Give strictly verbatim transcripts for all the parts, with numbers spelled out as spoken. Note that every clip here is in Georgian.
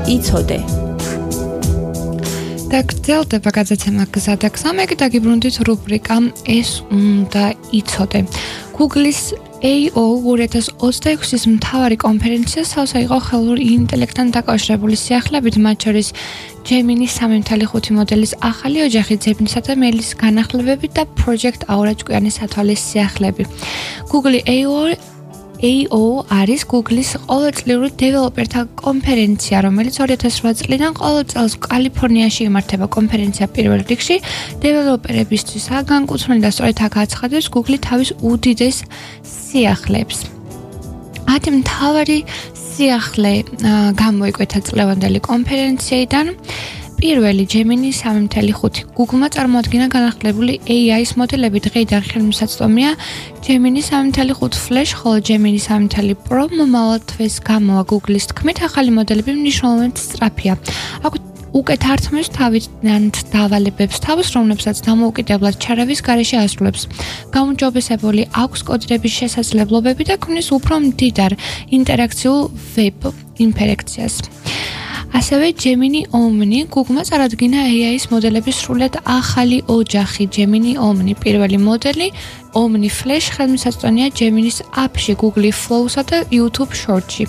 იცოდე. და გრძელდება გადაცემა გზა და გზა, მე გაგიბრუნდით რუბრიკა ეს უნდა იცოდე. Google-ის A O ორი ათას ოცდაექვსის მთავარი კონფერენცია სავსე იყო ხელოვნურ ინტელექტთან დაკავშირებული სიახლეებით, მათ შორის Gemini სამი ნული ხუთი მოდელის ახალი ოჯახი, ძებნისა და მეილის განახლებები და Project Aura ჭკვიანი სათვალის სიახლეები. Google A O A O არის Google-ის ყოველწლიური დეველოპერთა კონფერენცია, რომელიც ორი ათას ოთხ წლიდან ყოველ წელს კალიფორნიაში იმართება. კონფერენცია პირველ რიგში დეველოპერებისთვისაა განკუთვნილი და სწორედ აქ აცხადებს Google თავის უდიდეს სიახლეებს. ათი მთავარი სიახლე გამოიკვეთა წლევანდელი კონფერენციიდან. პირველი Gemini სამი ნული ხუთი. Google-მა წარმოადგინა განახლებული A I-ის მოდელები, დღეიდან ხელმისაწვდომია Gemini სამი ნული ხუთი Flash, ხოლო Gemini სამი ნული Pro მომავალ თვეს გამოვა. Google-ის თქმით, ახალი მოდელები მნიშვნელოვნად სწრაფია. აქვთ უკეთ ართმევს თავიდან დავალებებს თავს, რომლებსაც დამოუკიდებლად ჩარავის გარეშე ასრულებს. გაუმჯობესებული აქვს კოდირების შესაძლებლობები და ქმნის უფრო მდიდარ ინტერაქციულ ვებ ინტერაქციას. ასევე Gemini Omni, Google-მა წარადგინა A I-ის მოდელების სრულად ახალი ოჯახი Gemini Omni. პირველი მოდელი Omni Flash ხელმისაწვდომია Gemini-ის აპში, Google Flow-სა და YouTube Shorts-ში.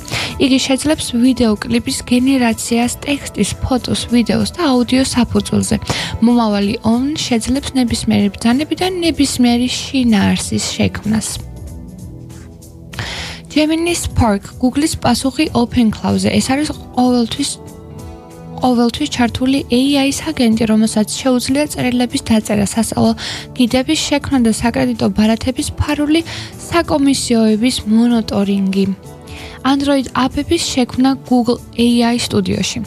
იგი შეძლებს ვიდეო კლიპის გენერაციას, ტექსტის, ფოტოს, ვიდეოს და აუდიოს საფუძველზე. მომავალი Omni შეძლებს ნებისმიერი ბრძანები და ნებისმიერი შინაარსის შექმნას. Gemini Spark, Google-ის პასუხი OpenCloud-ზე. ეს არის ყოველთვის ყოველთვის ჩართული A I-ის აგენტი, რომელსაც შეუძლია წერილების დაწერა, სასწავლო გიდების შექმნა და საკრედიტო ბარათების ფარული საკომისიოების მონიტორინგი. Android აპების შექმნა Google A I სტუდიოში.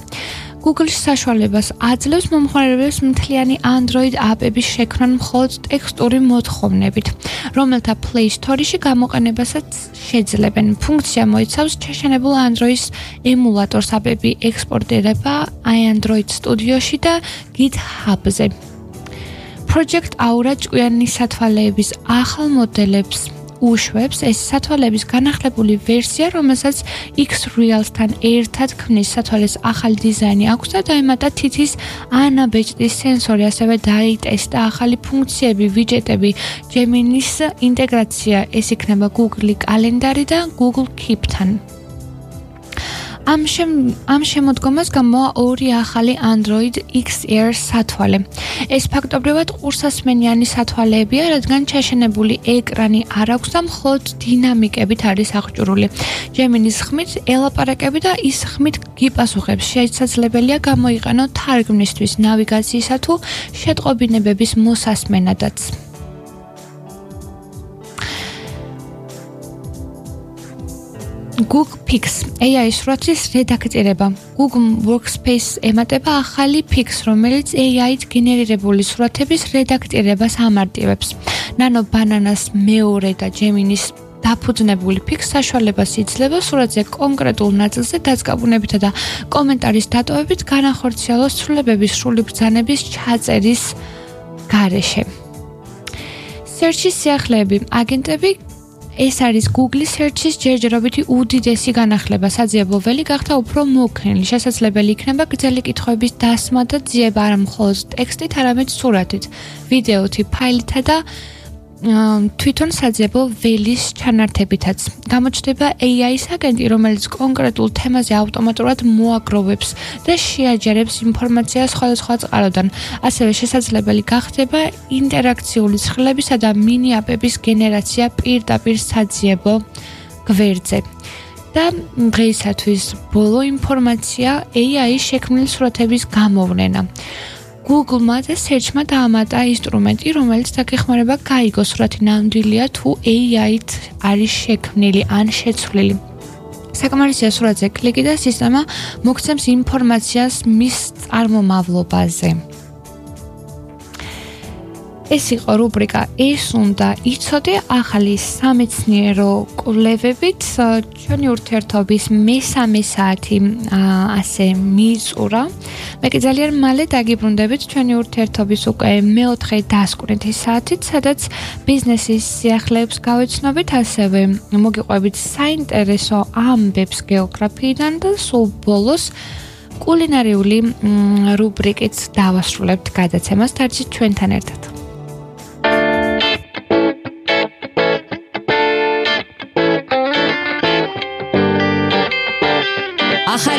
Google-ის საშუალებას აძლევს მომხმარებლებს მთლიანი Android აპების შექმნა მხოლოდ ტექსტური მოთხოვნებით, რომელთა Play Store-ში გამოყენებასაც შეძლებენ. ფუნქცია მოიცავს ჩაშენებულ Android-ის ემულატორს, აპები ექსპორტირება iAndroid სტუდიოში და GitHub-ზე. Project Aura ჭკვიანი სათვალეების ახალ მოდელებს უშვებს. ეს სათვალეების განახლებული ვერსია, რომელსაც X-Reals-თან ერთად ქმნის. სათვალეს ახალი დიზაინი აქვს და დაემატა თითის ანაბეჭდის სენსორი, ასევე დაიტესტა ახალი ფუნქციები, ვიჯეტები, Gemini-ის ინტეგრაცია. ეს იქნება Google კალენდარი და Google Keep-თან. ამ შემ ამ შემოდგომას გამოვა ორი ახალი Android X R სათვალე. ეს ფაქტობრივად ყურსასმენიანი სათვალეებია, რადგან ჩაშენებული ეკრანი არ აქვს და მხოლოდ დინამიკებით არის აღჭურვილი. Gemini-ის ხმით ელაპარაკები და ის ხმით გიპასუხებს. შესაძლებელია გამოიყენო თარგმნისთვის, ნავიგაციისა თუ შეტყობინებების მოსასმენადაც. Google Pix A I სურათის რედაქტირება. Google Workspace ემატება ახალი Pix, რომელიც A I-ით გენერირებული სურათების რედაქტირებას ამარტივებს. Nano Bananas მეორე და Gemini-ის დაფუძნებული Pix საშუალებას იძლევა სურათზე კონკრეტულ ნაწილზე დაწყაბუნებითა და კომენტარის დატოვებით განახორციელოს ცვლილებების სრული ბრძანების ჩაწერის გარეშე. Search-ის სიახლეები, აგენტები. ეს არის Google Search-ის ჯერჯერობითი უდიდესი განახლება. საძიებო ველი გახდა უფრო მოქნილი. შესაძლებელი იქნება გრძელი კითხვების დასმა და ძიება არა მხოლოდ ტექსტით, არამედ სურათით, ვიდეოთი, ფაილითა და თვითონ საძიებო ველის ჩანართებითაც. გამოჩნდება A I-ის აგენტი, რომელიც კონკრეტულ თემაზე ავტომატურად მოაგროვებს და შეაჯერებს ინფორმაციას სხვადასხვა წყაროდან. ასევე შესაძლებელი გახდება ინტერაქციული ცხრილებისა და მინი აპების გენერაცია პირდაპირ საძიებო გვერდზე. და დღეისათვის ბოლო ინფორმაცია A I-ის შექმნილი სურათების გამოვლენა. Google-მა და Search-მა დაამატა ინსტრუმენტი, რომელიც დაგეხმარება გაიგოს სურათი ნამდვილია თუ A I-ით არის შექმნილი ან შეცვლილი. საკმარისია სურათზე კლიკი და სისტემა მოგცემს ინფორმაციას მის წარმომავლობაზე. ეს იყო რუბრიკა ეს უნდა იცოდე, ახალი სამეცნიერო კვლევებით. ჩვენი ურთიერთობის მესამე საათი ასე მიწურა. მე კი ძალიან მალე დაგიბრუნდებით ჩვენი ურთიერთობის უკვე მეოთხე დასკვნითი საათით, სადაც ბიზნესის სიახლეებს გავეცნობით, ასევე მოგიყვებით საინტერესო ამბებს გეოგრაფიიდან და სულ ბოლოს კულინარიული რუბრიკით დავასრულებთ გადაცემას. დარჩით ჩვენთან ერთად. ახალი